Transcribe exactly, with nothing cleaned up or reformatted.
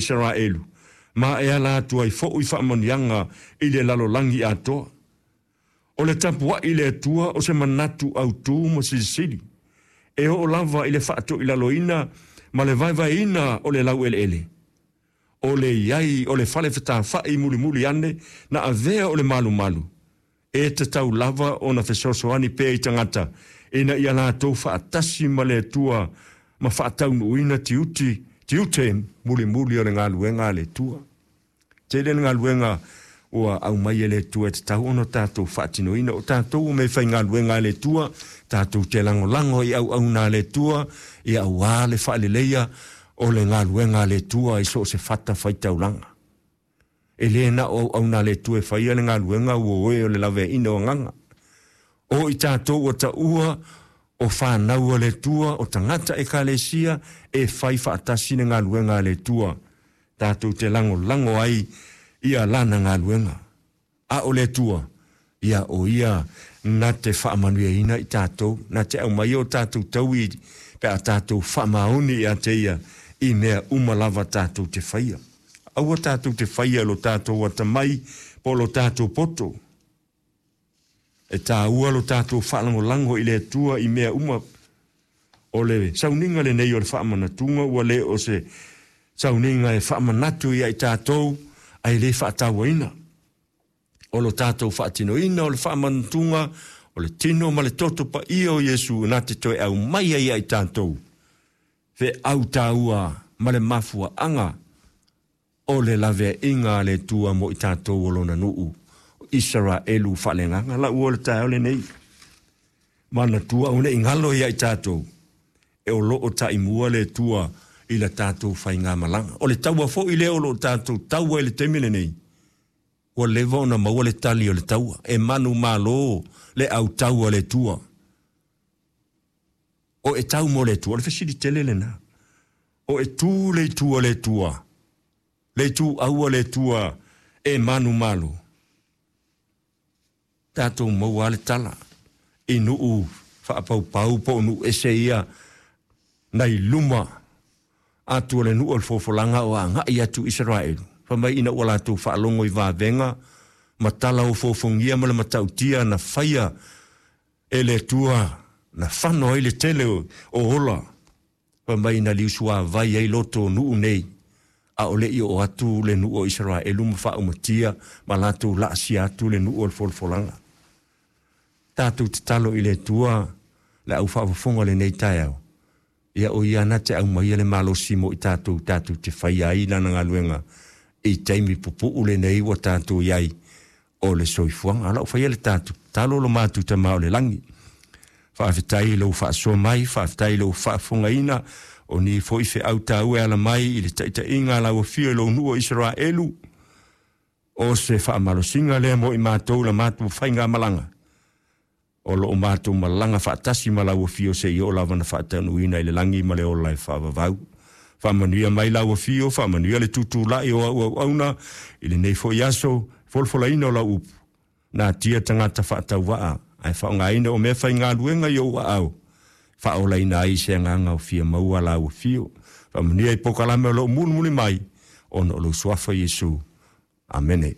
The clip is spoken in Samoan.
Isaraelu, ma e ala atu ai foʻi faamanuiaga i le lalolagi atoa. O le tapuaʻi i le Atua o se manatu autū ma silisili, e oo lava i le faatoilaloina ma le vaevaeina o le laueleele. O le iai o le fale fetafaʻi mulimuli ane na avea o le malumalu, e tatau lava ona fesoasoani pea i tagata ina ia latou faatasi ma le Atua ma faataunuuina tiuti, tiute mulimuli o le galuega a le Atua. Tele le galuega ua aumai e le Atua e tatau ona tatou faatinoina. O tatou o mea faigaluega a le Atua, tatou te lagolago i auauna a le Atua, ia auā le faaleleia o le galuega a le Atua i so o se fata faitaulaga. E le na o auauna a le Atua e faia le galuega ua oe o le laveaiina o agaga. O i tatou ua taua o fanau a le Atua, o tagata ekalesia e fai faatasi le galuega a le Atua. Tatou te lagolago ai ia lana galuega. A o le Atua, ia o ia na te faamanuiaina i tatou, na te aumai o tatou taui pe a tatou faamaoni ia te ia i mea uma lava tatou te faia. Aua tatou te faia lo tatou atamai po lo tatou poto. E tāua lo tatou faalagolago i le Atua i mea uma. O le sauniga lenei o le faamanatuga ua le o se sauniga e faamanatu ia i tatou ae le faatauaina. O lo tatou faatinoina o le faamanatuga o le tino ma le toto paia o Iesu na te toe aumai ai ia i tatou feau taua ma le mafuaaga o le laveaiga a le Atua mo i tatou o lona nuu Isaraelu faaleagaga. Lau o le taeao lenei, manatua aua ne i galo ia i tatou e o loo taimua le Atua i la tatou faigamalaga. O le taua foi lea o loo tatou taua i le taimi lenei, ua leva ona maua le tali o le taua, e manumalo le autau a le Atua. O e tau mo le Atua, o le fesili tele lena. O e tu le itu a le Atua, le itu aua le Atua e manumalo. Tatou maua le tala i nuu faapaupau po o nuu ese ia nai luma atu o le nuu o le fofolaga o agai atu Isaraelu. Fai mai ina ua latou faalogo i vavega ma tala o fofogia ma le matautia na faia e le Atua na fano ai le tele o ola. Fai mai na liusuavai ai loto o nuu nei, a o le i oo atu le nuu o Isaraelu ma faaumatia ma latou laasia atu le nuu o le folafolaga. Tatou tatalo i le Atua le au faafofoga lenei taeao, ia o ia na te aumaia le malosi mo i tatou, tatou te faia ai lana galuega i taimi pupuu lenei ua tatou iai o le soifuaga. Ala o faia le tatou tatalo lo matou Tama o le lagi. Faafetai i lou faasoa mai, faafetai i lou faafofogaina o ni foi feau taua e ala mai i le taitaiga a lau afio i lou nuu o Isaraelu. O se faamalosiga lea mo i matou la matou faigamalaga. O loo matou malaga faatasi ma lau afio seia oo lava na faataunuuina i le lagi ma le ola e faavavau. Faamanuia mai lau afio, faamanuia le tutulai o au auauna i lenei foi aso, folafolaina o lau upu. Natia tagata faatauvaa, ae faaaogaina o mea faigaluega i ou aao, faaolaina ai se agaga o fia maua lau afio. Faamanuia i polokalame o loo mulimuli mai, ona o lou suafa Iesu. Amene.